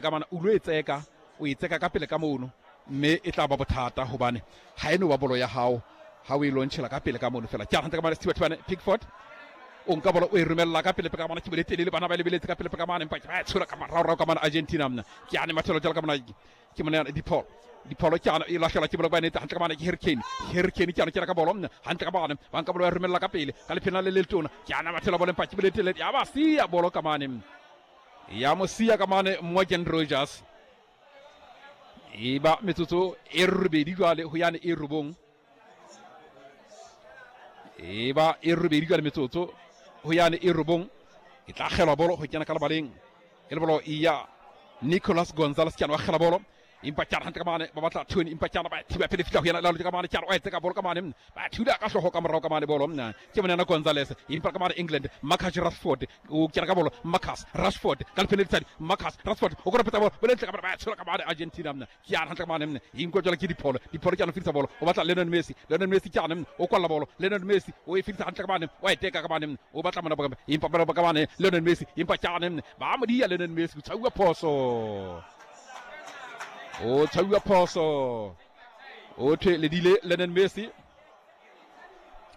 Ka mona o lo e tseka, o e tseka ka pele ka mono, mme e tla ba bothata hobane ha e no ba bolo ya hao ha o e lontšhela ka pele ka mono fela. Ke a hantle ka mane Sethibathibane Pickford o nka bolo o e romella ka pele ka mona, ke bole telele, bana ba e lebeletse ka pele ka mane, empa ke ba e tshola ka moraorao ka mane Argentina. Mna ke ane mathelo jalo ka mona ke mona Dipholo, Dipholo ke ana e lahlelwa ke bolo ba nete hantle ka mane ke Harry Kane, Harry Kane ke ana kena ka bolo mna hantle ka mane, ba nka bolo ba e romella ka pele ka lephena le le letona, ke ana mathelo bolo empa ke bole telele ya ba siya bolo ka mane, ya mo siya ka mane Morgan Rogers. E ba metsotso e robedi jwale ho yane e robong, e ba e robedi jwale metsotso ho yane e robong, e tla kgelwa bolo ho kena ka lebaleng e le bolo ya Nicolas Gonzalez, ke wa kgela bolo empa ke hantle ka mane ba batla Tony, empa ke ba thiba pele fihla ho yena la ka mane, ke wa etsa ka bolo ka mane ba thula ka hloho ka morao ka mane bolo ke monana Gonzalez, empa ka mane England Marcus Rashford o kena ka bolo, Marcus Rashford ka lephele letsadi, Marcus Rashford o kora peta bolo bolo ntle ka mane ba tshola ka mane Argentina mna ke ana hantle ka mane mna inko jwala ke dipholo, dipholo ke ana fitsa bolo o batla Lionel Messi, Lionel Messi ke ana o kwalla bolo, Lionel Messi o e fitsa hantle ka mane wa e teka ka mane o batla mona ba empa ba ka mane Lionel Messi, empa ke ana ba mo dia Lionel Messi o tshauwa phoso, o tshauwa phoso, o thwe ledile Lionel Messi,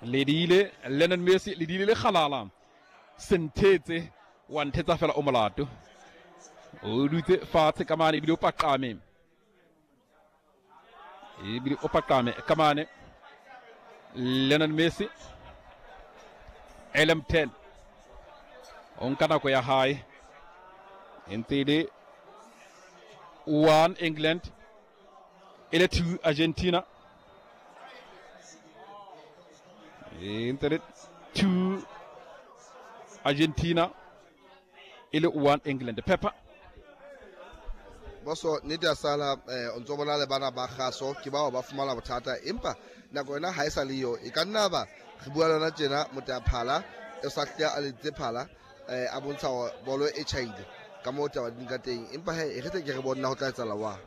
ledile Lionel Messi, ledile le kgalala senthetse wa nthetsa fela o molato, o dutse fatshe ka mane ebile o paqame, ebile o paqame ka mane Lionel Messi. LM10 o nka nako ya hae e ntse e le 1 England e le 2 Argentina, e ntse le 2 Argentina e le 1 England. Pepper boso nnete ya sala o ntso bona le bana ba kgaso ke bao ba fumana bothata, empa nako yona ha e sa le yo, e ka nna ba re bua le yona tjena motaphala e sa hle a letse phala a bontsha hore bolo e tjhaile ka moo taba di ka teng, empa he e re tle ke re bona ho tla etsahala wa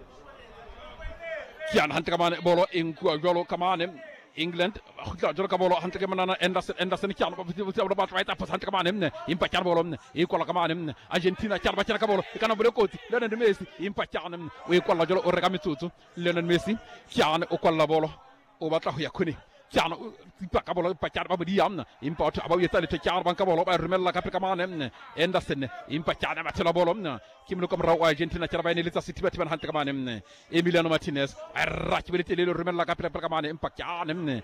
ke yana hantle ka mane bolo e nkuwa jwalo ka mane England ba kgutla jwalo ka bolo hantle ke monana Anderson, Anderson ke yana ba botsa ba tla etsa phoso hantle ka mane mne, empa ke yana bolo mne e kwala ka mane mne Argentina ke yana ba kena ka bolo e kana bole kotsi Lionel Messi, empa ke yana mne o e kwalla jwalo o reka metsotso Lionel Messi ke yana o kwalla bolo o batla ho ya khone ke yana o tsipa ka bolo empa ke yana ba modia mne, empa batho ba o etsa letho ke yana ba nka bolo ba romella ka pele ka mane mne Anderson, empa ke yana ba thela bolo mne ke moloko morao wa Argentina ke yana ba eneletsa sethibathibana hantle ka mane mne Emiliano Martinez a ra ke bele telele romella ka pele ka mane, empa ke ane mne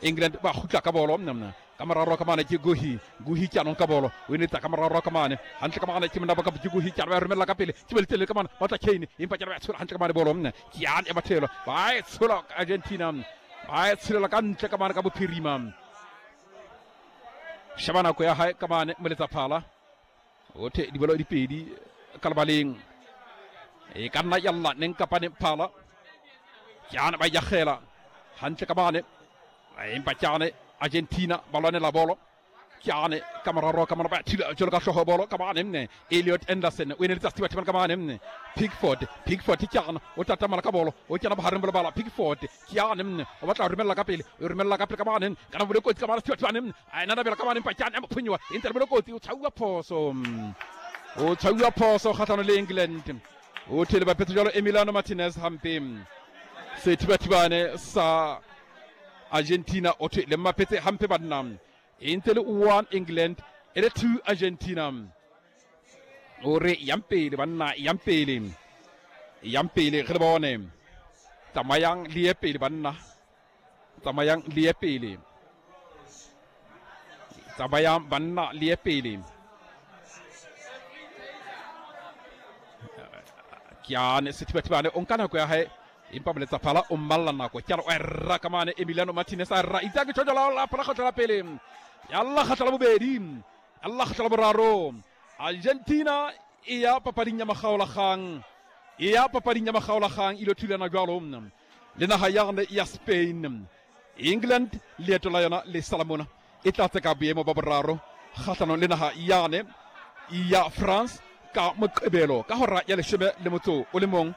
England ba kgutla ka bolo mne ka moraro ka mane ke Guhi, Guhi ke anong ka bolo o enetsa ka moraro ka mane hantle ka mane ke mona ba ka ke Guhi ke ba romella ka pele ke bele telele ka mane ba tla Kane, empa ke ba tshola hantle ka mane bolo mne ke ane ba thelo ba e tshola Argentina ba e tsholela ka ntle ka mane ka bophirima. Sheba nako ya hae ka mane moletsa phala o the dibolo di pedi ka lebaleng e ka nna yalla neng kapa neng phala ke ana ba yagela hantle ka mane, empa ke ane Argentina ba lwanela bolo ke ane ka moraro ka mane ba thula jalo ka hloho bolo ka mane mne Elliot Anderson o eneletsa Stewart ka mane mne Pickford, Pickford ke ana o tatamala ka bolo o kena bohareng ba lebala Pickford ke ane mne o batla ho romella ka pele o romella ka pele ka mane kana bole kotsi ka mane Stewart mane mne a ena bela ka mane empa ke ane a mo phunyiwa e ntse le bole kotsi o tshauwa phoso, o tshauwa phoso kgatlhano le England o thele bapetse jalo Emiliano Martinez hampe sethibathibane sa Argentina o thwe le mmapetse hampe banna e ntse le 1 England e le 2 Argentina. O re yang pele banna, yang pele, yang pele re le bone, tsamayang le ye pele banna, tsamayang le ye pele, tsamayang banna le ye pele. Ke ane sethibathibane o nka nako ya hae empa moletsa phala o mmalla nako ke o ra ka mane Emiliano Martinez a ra itsa ke tjho la phala kgotla la pele ya la kgotla la bobedi ya la kgotla la boraro. Argentina e ya papading ya makgaolakgang, e ya papading ya makgaolakgang ilo thulana jwalo le naha ya ya Spain. England leeto la yona le sala mona e tla tseka boemo ba boraro kgahlanong le naha yane ya France ka moqebelo ka hora ya 11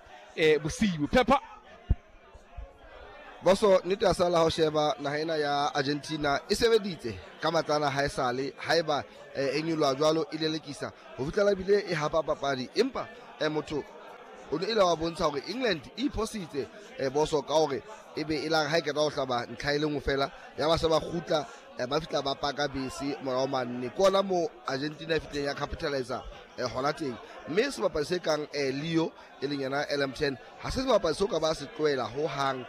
bosiu. Pepper boso nnete ya sala ho sheba naha ena ya Argentina e sebeditse ka matlana ha e sale haeba e nyoloha jwalo e lelekisa ho fihlela bile e hapa papadi, empa motho O ne ile wa bontsha hore England e iphositse boso ka hore e be e lang ha e qeta ho hlaba ntlha e le nngwe fela ya ba se ba kgutla ba fihla ba paka bese morao manne. Ke ona moo Argentina e fihlileng ya capitalizer hona teng. Mme sebapadi se kang Leo e leng yena LM10 ha se sebapadi seo ka ba se tlohela ho hang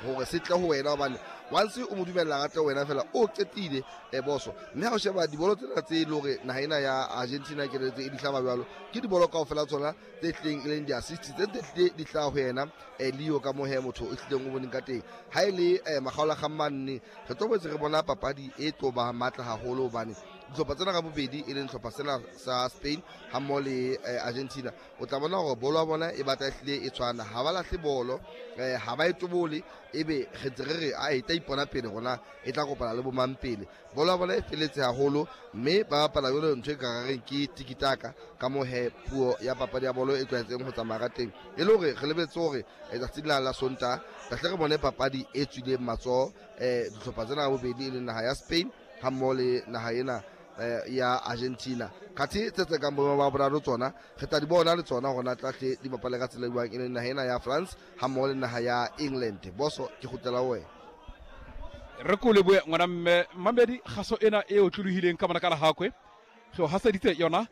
hore se tle ho wena, hobane once o mo dumella a tle ho wena fela o qetile boso. Mme ha o sheba dibolo tsena tse e le hore naha ena ya Argentina ke tse e di hlaba jwalo, ke dibolo kaofela tsona tse tlileng e leng di-assist tse tse tlile di hlaha ho yena Leo ka moo he motho o hlileng o boneng ka teng. Ha e le makgaolakgang manne re tlo boetse re bona papadi e tlo ba matla haholo, hobane dihlopha tsena ka bobedi e leng hlopha sena sa Spain ha mmoho le Argentina, o tla bona hore bolo ya bona e batla e hlile e tshwana. Ha ba lahle bolo, ha ba e tobole, ebe re ntse re re a e tla ipona pele rona e tla kopana le bomang pele. Bolo ya bona e feletse haholo, mme ba bapala jwalo ntho e ka reng ke tikitaka ka moo he puo ya papadi ya bolo e tlwaetseng ho tsamaya ka teng. E le hore re lebetse hore tsatsing la la Sontaha tla hle re bone papadi e tswileng matsoho dihlopha tsena ka bobedi e leng naha ya Spain ha mmoho le naha ena ya Argentina. Khathe tse tse kang boemo ba boraro tsona re tla di bona le tsona hore na tla hle di bapale ka tsela e jwang, e leng naha ena ya France ha mmoho le naha ya England. Boso ke kgutlela ho wena. Re ko lebohe ngwana mme Mamedi, kgaso ena e otlolohileng ka mona ka Lehakwe re o haseditse yona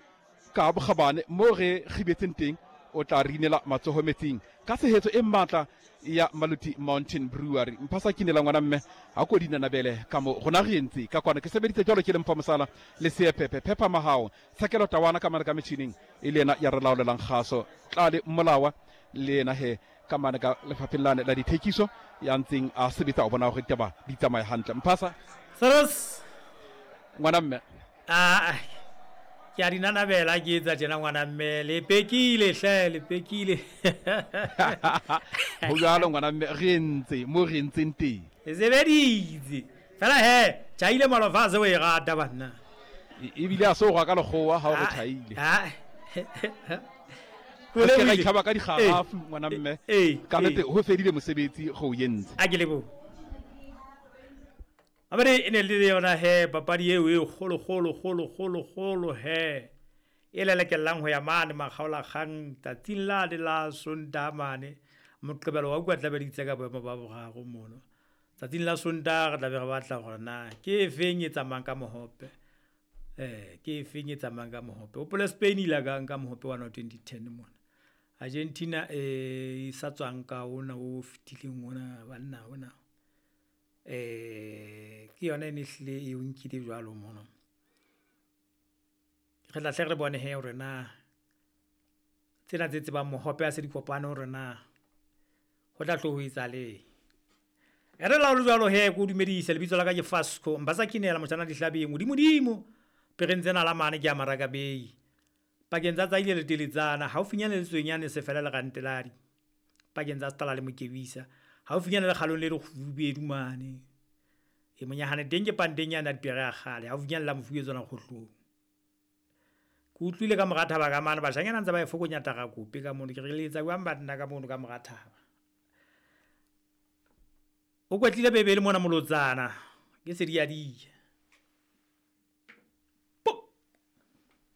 ka bokgabane mo re kgibetseng teng. O tla re inela matsoho metsing ka tshehetso e matla ya Maluti Mountain Brewery. Mphasa kinela ngwana mme ha ko dinanabele ka mo rona re entse ka kwana. Ke sebeditse jwalo ke le mpha mosala le seepepe phepha mahao tshekelo tawana ka mane ka metjhining e le yena ya re laolelang kgaso. Tlale Mmolawa le yena he ka mane ka lefapheng lane la dithekiso ya ntseng a sebetsa o bona hore ditaba di tsamaye hantle. Mphasa Seros ngwana mme. Ah, ke a di nanabela ke etsa tjena ngwana mme, le pekile hle, le pekile. Ho jwalo ngwana mme, re entse mo re entseng teng. Le sebeditse. Fela he, tjhaile malofa a se o e rata banna. Ebile a se o rwa ka lekgowa ha o re tjhaile. Re se ra itlhaba ka dikgarafu ngwana mme. Ka nnete ho fedile mosebetsi go o entse. A ke lebohe. Mabedi e ne le yona he papadi eo e kgolo kgolo kgolo kgolo kgolo he e lelekellang ho ya mane makgaolakgang tsatsing la le la Sontaha mane. Moqebelo wa utlwa tlabe di itse ka boemo ba boraro mono. Tsatsing la Sontaha re tlabe re batla hore na ke efeng e tsamayang ka mohope. Ke efeng e tsamayang ka mohope. Hopola Spain ile ka nka mohope wa 2010 mona. Argentina e sa tswang ka ona o fetileng ona banna ona. Ke yona e ne hlile e o nkile jwalo mono. Re tla hle re bone he hore na tsena tse tsebang mohope a se di kopane hore na ho tla tlo ho etsahaleng. E re la ho le jwalo he ke o dumedise, lebitso la ka ke Fasco Mbasa Kinela motjhana dihlabeng modimodimo pereng tsena la mane ke ya Maraka Bay. Pakeng tsa Tsaile le Teletsana haufinyane le Tswenyane se fela le Ranteladi. Pakeng tsa Stala le Mokebisa haufinyane le kgalong le lekgubedu mane. E monyahane teng ke panteng yana dipere ya kgale haufinyane la mofuwe tsona kgohlong. Ke utlwile ka mora thaba ka mane bashanyana ntse ba e fokonya tarakope ka mono, ke re le etsa jwang banna ka mono ka mora thaba. O kwetlile bebele mona molotsana ke sediadia.